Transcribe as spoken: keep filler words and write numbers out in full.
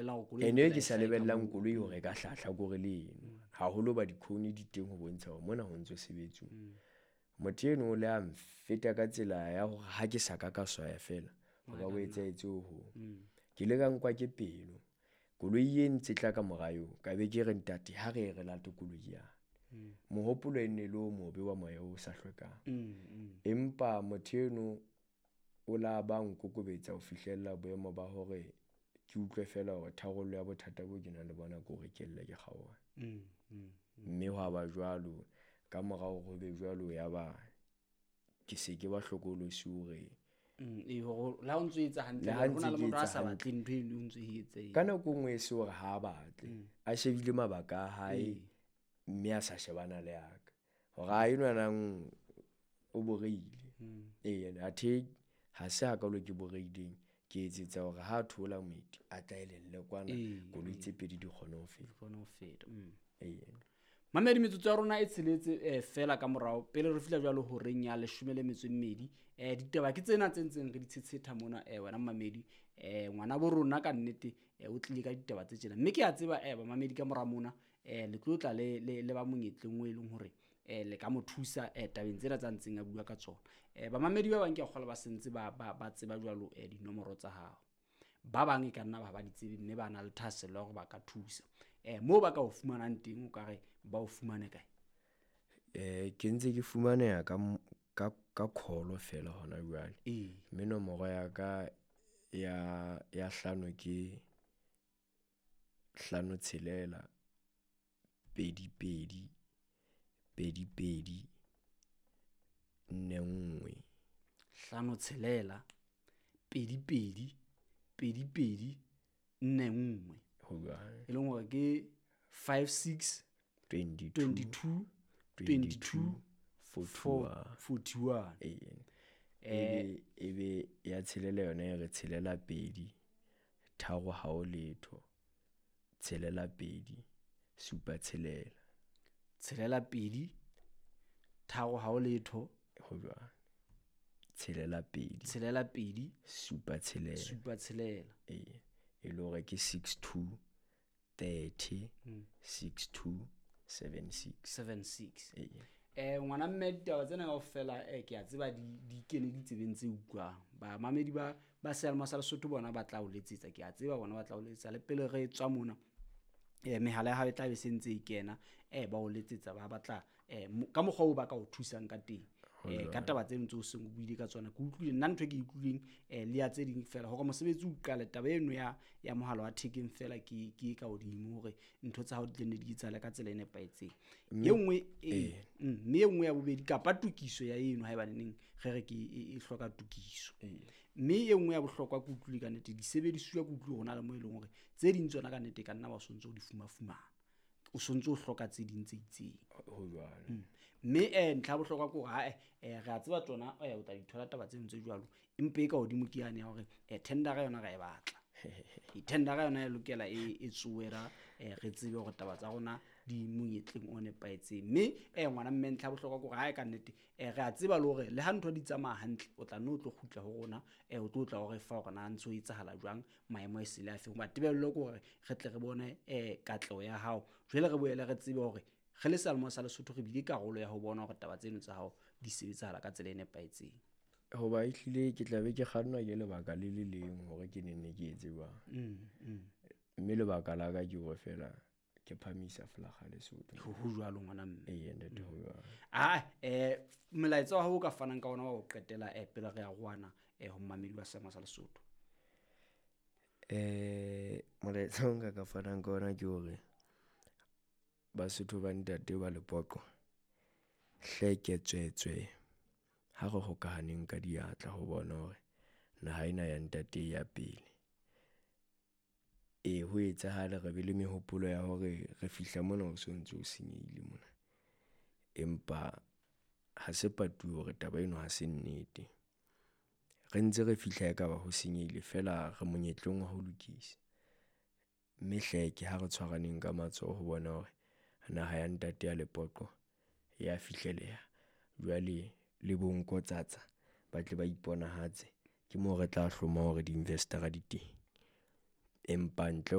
lebellang hore koloi Ene e ke sa hlahe ka lebellang moo. koloi hore e ka hlahla kore le eno. Haholo ba dikhone di teng ho bontsha hore mona ho ntso sebetsuwa. Motho eno o le a nfeta ka tsela ya hore ha ke sa ka ka swaya feela, ho ka bo etsahetse ho hong. Ke ile ka nkwa ke pelo. Koloi e ntse tla ka mora eo, ka be ke re ntate ha re ye re late koloi yane. Mohopolo e ne le o mobe wa moya o sa hlwekang. Empa motho eno o la ba nkokobetsa ho fihlella boemo ba hore ke utlwe feela hore tharollo ya bothata bo ke nang le bona ke hore ke lle ke kgaohane. Mme hwa ba jwalo, ka mora hore ho be jwalo ya ba ke se ke ba hlokolosi hore Mm, ee, hore le ha o ntso etsa hantle, Le ha ho na ntse le ke motho a etsa sa hantle. batleng ntho eno o ntso e etse. Ka nako e nngwe e se hore ha a batle, a shebile mabaka a hae mme a sa shebana le ya ka. Hore a enwanang o boreile. Ee, athe ha se hakalo ke boreileng, ke etsetsa hore ha a theola moeti a tla elelle kwana, koloi tse pedi di kgone ho feta. Di kgone ho feta. Mm. Ee. Mamedi, metsotso ya rona e tsheletse eh, fela ka morao pele re fihla jwalo horeng ya leshome le metso e mmedi. Eh, ditaba ke tsena tse ntseng re di tshetsheta mona, eh, wena mamedi. Eh, ngwana bo rona ka nnete, eh, o tlile ka ditaba tse tjena. Mme ke a tseba, eh, bamamedi ka mora mona, eh, le tlo tla le, le, le ba monyetleng o e leng hore, eh, le ka mo thusa, eh, tabeng tsena tsa ntseng a bua ka tsona. Eh, bamamedi ba bang ke a kgolwa ba sentse ba, ba, ba tseba jwalo, eh, dinomoro tsa hao. Ba bang e ka nna ba ba di tsebe mme ba na le thahasello ya hore ba ka thusa. Eh, moo ba ka o fumanang teng o ka re ba o fumane kae? Eh, ke ntse ke fumaneha ka m-, ka, ka call feela hona jwale. Ee. Mme nomoro ya ka ya, ya hlano ke hlano tshelela, pedi pedi, pedi pedi, nne nngwe. Hlano tshelela, pedi pedi, pedi pedi, nne nngwe. Ho jwalo. E leng hore ke five six, Twenty-two, twenty-two, twenty-two, forty-one. forty-one. Ee. Ebe, ebe ya tshelela yona e re tshelela pedi, tharo ha ho letho, tshelela pedi, supa tshelela. Tshelela pedi, tharo ha ho letho. Ho jwalo. Tshelela pedi. Tshelela pedi. Supa tshelela. Supa tshelela. Ee. E le hore ke six two, thirty, six two, seven six. Seven six. Ee. Eh, ngwana mme ditaba tsena kaofela, eh, ke a tseba di, di kene ditsebeng tse utlwang. Bamamedi ba, ba seyalemoya sa Lesotho bona ba tla o letsetsa, ke a tseba bona ba tla o letsetsa. Le pele re tswa mona, eh, mehala ya hao e tla be se ntse e kena, eh, ba o letsetsa, ba batla, eh, mo-, ka mokgwa oo ba ka o thusang ka teng. Eh, ka taba tseno tseo seng o buile ka tsona, ke utlwile nna ntho e ke e utlwileng, eh, le ya tse ding feela, hore mosebetsi o qale, taba eno ya, ya mohala wa thekeng feela ke, ke e ka hodimo hore ntho tsa hao di tle nne di etsahale ka tsela e nepahetseng. Mme E nngwe, e, Ee. mm, mme e nngwe ya bobedi, kapa tokiso ya eno haeba neneng re re ke e, e hloka tokiso. Ee. Mme e nngwe ya bohlokwa ke utlwile ka nnete, disebedisuwa ke utlwile hore na le mo e leng hore tse ding tsona ka nnete e ka nna ba o sontso o di fumafumana. O sontso o hloka tse ding tse itseng. Ho jwalo. Mm. Mme, eh, ntlha ya bohlokwa ke hore, ha, eh, eh, re a tseba tsona, eh, o tla di thola taba tseno tse jwalo. Empa e ka hodimo ke yane ya hore, eh, tendera yona ra e batla. E tendera yona e lokela e, e tsoera, eh, re tsebe hore taba tsa rona di monyetleng o nepahetseng. Mme, eh, ngwana mme ntlha ya bohlokwa ke hore ha e ka nnete, eh, re a tseba le hore le ha ntho di tsamaya hantle, o tla nne o tlo kgutla ho rona, eh, o tlo tla o re fa hore na ntso e etsahala jwang, maemo e sele a feng. Hoba tebello ke hore re tle re bone, eh, katleho ya hao. Jwale re boele re tsebe hore re le seyalemoya sa Lesotho re bile karolo ya ho bona hore taba tseno tsa hao di sebetsahala ka tsela e nepahetseng. Hoba ehlile ke tla be ke kgannwa ke lebaka le le leng hore ke nenne ke etse jwang. Mm, mm. Mme lebaka la ka ke hore feela ke phamisa flaga Lesotho. Ho, ho jwalo ngwana mme. Ee, ntate, ho jwalo. Ah, eh, molaetsa wa hao o ka fanang ka ona wa ho qetela, eh, pele re arohana, eh, ho mmamedi wa seyalemoya sa Lesotho. Eh, molaetsa o nka ka fanang ka ona ke hore Basotho ba ntate ba Lepoqo, hleke tswetswe ha re hokahaneng ka diatla ho bona hore naha ena ya ntate e ya pele. Ee, ho etsahale re be le mehopolo ya hore re fihla mona ho so ntso o senyehile mona. Empa ha se patuwe hore taba eno ha se nnete. Re ntse re fihla ekaba ho senyehile feela re monyetleng wa ho lokisa. Mme hleke ha re tshwaraneng ka matsoho ho bona hore naha ya ntate ya Lepoqo ya fihleleha. Jwale le bo nkotsatsa ba tle ba iponahatse, ke moo re tla hloma hore di-investor-a di teng. Empa ntle